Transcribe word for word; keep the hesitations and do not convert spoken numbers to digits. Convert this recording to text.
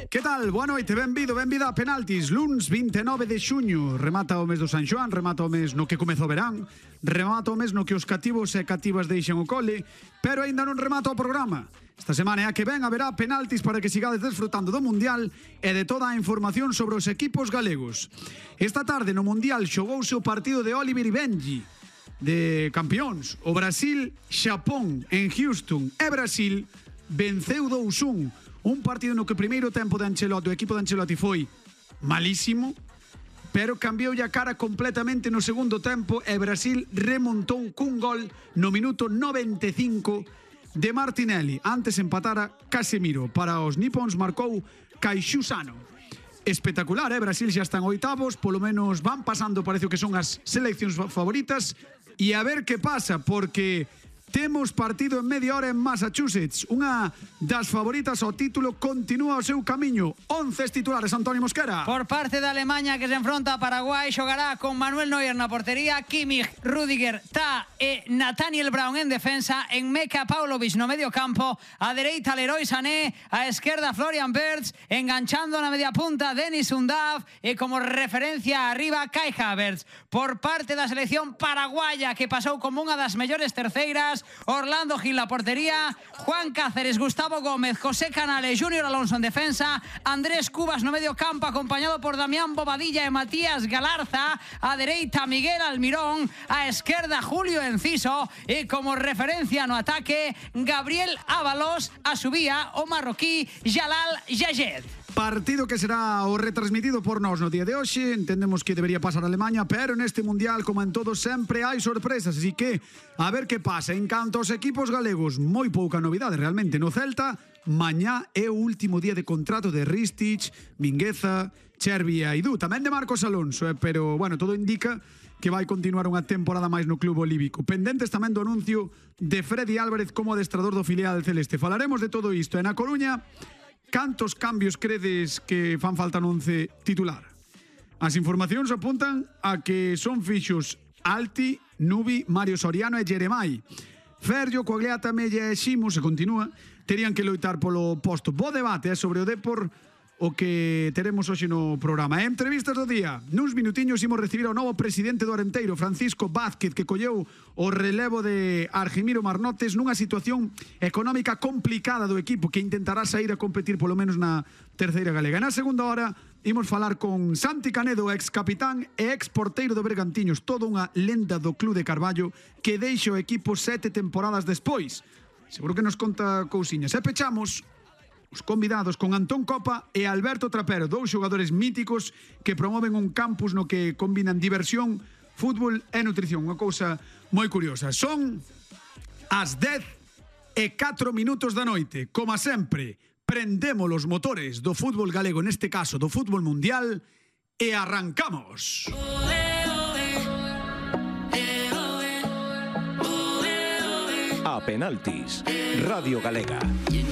Que tal? Boa noite, benvido, benvida a Penaltis. Luns vinte e nove de xuño. Remata o mes do San Xoán, remata o mes no que comeza o verán, remata o mes no que os cativos e cativas deixan o cole, pero aínda non remata o programa. Esta semana é a que ven haberá penaltis para que sigades desfrutando do Mundial e de toda a información sobre os equipos galegos. Esta tarde no Mundial xogouse o partido de Oliver e Benji de campións. O Brasil-Xapón en Houston e Brasil venceu dous un. Un partido no que o primeiro tempo de Ancelotti, o equipo de Ancelotti foi malísimo, pero cambiou a cara completamente no segundo tempo e Brasil remontou cun gol no minuto noventa e cinco de Martinelli. Antes empatara Casemiro. Para os nipons marcou Kaixu Sano. Espectacular, eh? Brasil xa están oitavos, polo menos van pasando, parece que son as seleccións favoritas, e a ver que pasa, porque temos partido en media hora en Massachusetts. Unha das favoritas ao título continúa o seu camiño. Once titulares, Antonio Mosquera. Por parte de Alemanha, que se enfronta a Paraguai, xogará con Manuel Neuer na portería, Kimmich, Rüdiger, Ta e Nathaniel Brown en defensa, en Meka Paulovic no medio campo, a dereita Leroy Sané, a esquerda Florian Wirtz, enganchando na media punta Denis Undav e como referencia arriba Kai Havertz. Por parte da selección paraguaya, que pasou como unha das mellores terceiras, Orlando Gil la portería, Juan Cáceres, Gustavo Gómez, José Canales, Junior Alonso en defensa, Andrés Cubas no medio campo acompañado por Damián Bobadilla e Matías Galarza, a dereita Miguel Almirón, a esquerda Julio Enciso e como referencia no ataque Gabriel Ábalos, a subía o marroquí Jalal Yayed. Partido que será o retransmitido por nós no día de hoxe. Entendemos que debería pasar a Alemanha, pero neste Mundial, como en todo, sempre hai sorpresas, así que a ver que pasa. En canto aos equipos galegos, moi pouca novidade realmente. No Celta, mañá é o último día de contrato de Ristich, Mingueza, Chervi e Aidú, tamén de Marcos Alonso, eh? Pero, bueno, todo indica que vai continuar unha temporada máis no club olívico. Pendentes tamén do anuncio de Freddy Álvarez como adestrador do filial celeste. Falaremos de todo isto. E na Coruña, cantos cambios credes que fan falta no once titular? As informacións apuntan a que son fixos Alti, Nubi, Mario Soriano e Jeremai. Ferrio, Coagliata, Mella e Ximo, se continúa, terían que loitar polo posto. Bo debate eh, sobre o Depor, o que teremos hoxe no programa. E entrevistas do día. Nuns minutiños imos recibir ao novo presidente do Arenteiro, Francisco Vázquez, que colleu o relevo de Argimiro Marnotes nunha situación económica complicada do equipo, que intentará sair a competir polo menos na terceira galega. Na segunda hora imos falar con Santi Canedo, ex capitán e ex porteiro do Bergantiños, toda unha lenda do club de Carballo que deixa o equipo sete temporadas despois. Seguro que nos conta cousiñas. E pechamos os convidados con Antón Copa e Alberto Trapero, dous xogadores míticos que promoven un campus no que combinan diversión, fútbol e nutrición. Unha cousa moi curiosa. Son as dez e catro minutos da noite. Como sempre, prendemos os motores do fútbol galego, neste caso do fútbol mundial, e arrancamos. A Penaltis, Radio Galega.